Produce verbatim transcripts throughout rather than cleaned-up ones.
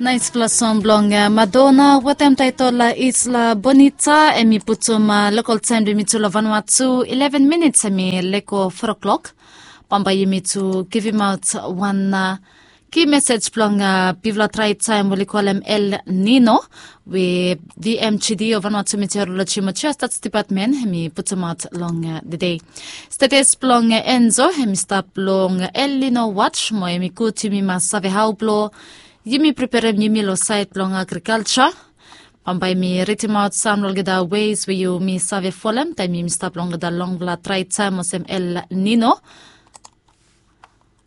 Naispela song bilong Madonna wetem taitol Isla Bonita, em i putum lokal taim bilong yumi tu long Vanuatu, eleven minits em i leko four o'clock. Bambae yumi tu givimaot wan ki mesej bilong bifala trae taim ol i kolem El Nino, we V M G D o Vanuatu Meteorology mo Geostats Department em i putumaot long dede. Status bilong Enzo em i stap long El Nino watch, mo em i gut yumi mas save hau bilong yumi preperem yumi long sait bilong agrikalsa. Bambae mi ritimaot sam long olgeta ways we yumi save folem taim yumi stap long olgeta longfala trae taim olsem El Nino.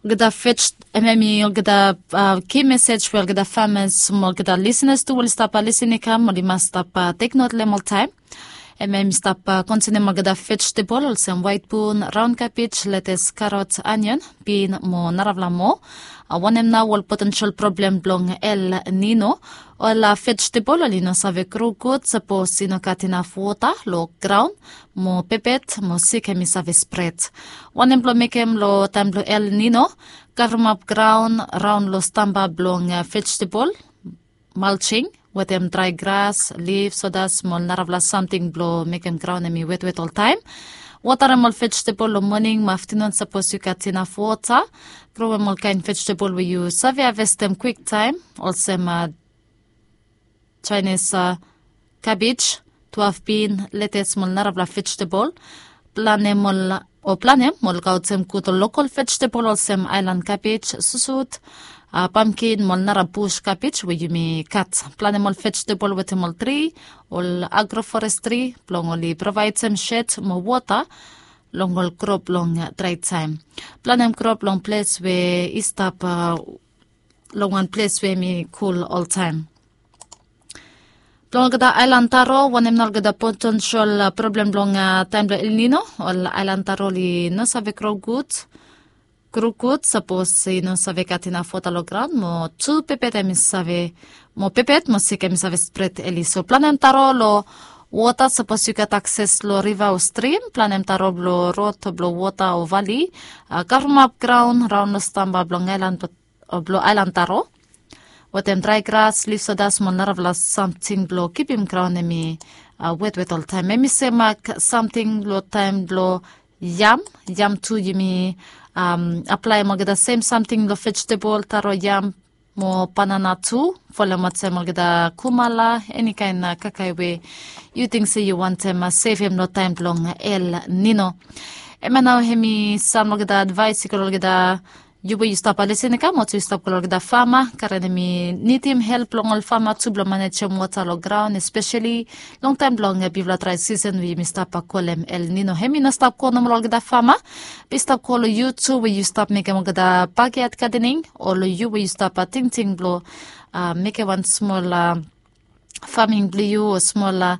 Olgeta fej em em i olgeta ki mesej we olgeta famas mo olgeta lisenas tu ol i stap lisin i kam ol i mas stap teknot long em oltaim. Em em i stap konsenem olgeta vejetebol olsem waitbun, raon kabej, letes, karot, anion, bin mo narafala moa. Wanem nau ol potensel problem bilong El Nino? Ol vejetebol ol i no save gro gut sapos i no gat inap wota long graun, mo pepet mo sik em i save spret. Wanem bilong mekem long taim bilong El Nino? Kavremap graun raun long stamba bilong vejetebol, malching, wetem drae gras, lif, sodas mo ol narafala samting bilong mekem graun em i wetwet oltaim. Wotarem ol vejetebol long moning mo aftanun sapos yu gat inap wota. Growem ol kain vejetebol we yu save havestem kwiktaim, olsem Chinese kabej, tuaf bin, letes mo ol narafala vejetebol. Planem ol o planem mo lukaotem gut ol lokal vejetebol olsem ailan kabej, susut, pamkin mo ol nara bus kabej we yumi gat. Planem ol vejetebol wetem ol tri, ol agroforestri bilong ol i provaidem shet mo wota long ol krop long drae taim. Planem krop long ples we i stap long wan ples we em i kul oltaim. Bilong olgeta ailan taro wanem na olgeta potensel problem bilong taim bilong El Nino, ol ailan taro ol i no save gro gut, gro gut sapos i no save gat inap wota long graun mo tu pepet em i save, mo pepet mo sik em i save spret eli. So planem taro long wota sapos yu gat akses long riva o strim, planem taro bilong rot o bilong wota o vali. Kavremap graun raun long stamba bilong ailan, bilong ailan taro, wetem drae gras, lif sodas mo narafala samting bilong kipim graun em i wetwet oltaim. Em i semak samting long taim bilong yam. Yam tu yumi aplaem olgeta sem samting long vejetebol, taro, yam mo banana tu. Folem olsem olgeta kumala, enikain kakae we yu ting se yu wantem sevem long taim bilong El Nino. Em ya nau em i sam olgeta advais i go long olgeta yu we yu stap lisin i kam olsem yu stap go long olgeta fama, karen em i nidim help long ol fama tu bilong manejem wota long graun, espeseli long taim bilong bifala drae sisen we yumi stap kolem El Nino. Em i no stap go nomo long olgeta fama, be i stap go long yu tu we yu stap mekem olgeta bakyat gadening, o long yu we yu stap tingting bilong mekem wan smol faming bilong yu o smol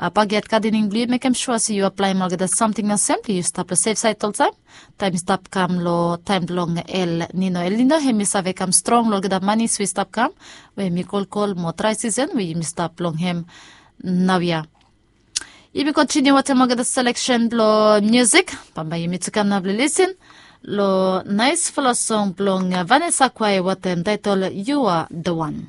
bakyat gadening bilong yu, mekem sua se yu aplaem olgeta samting olsem bilong yu stap long sef sait oltaim. Taim i stap kam long taim bilong El Nino. El Nino em i save kam strong long olgeta manis we i stap kam, we em i kolkol mo drae sisen we yumi stap long em naoia. Yumi kontiniu wantaim olgeta seleksen bilong musik. Bambae yumi tu kam na bilong lisin long naispela song bilong Vanessa Quai wantaim taitol You Are The One.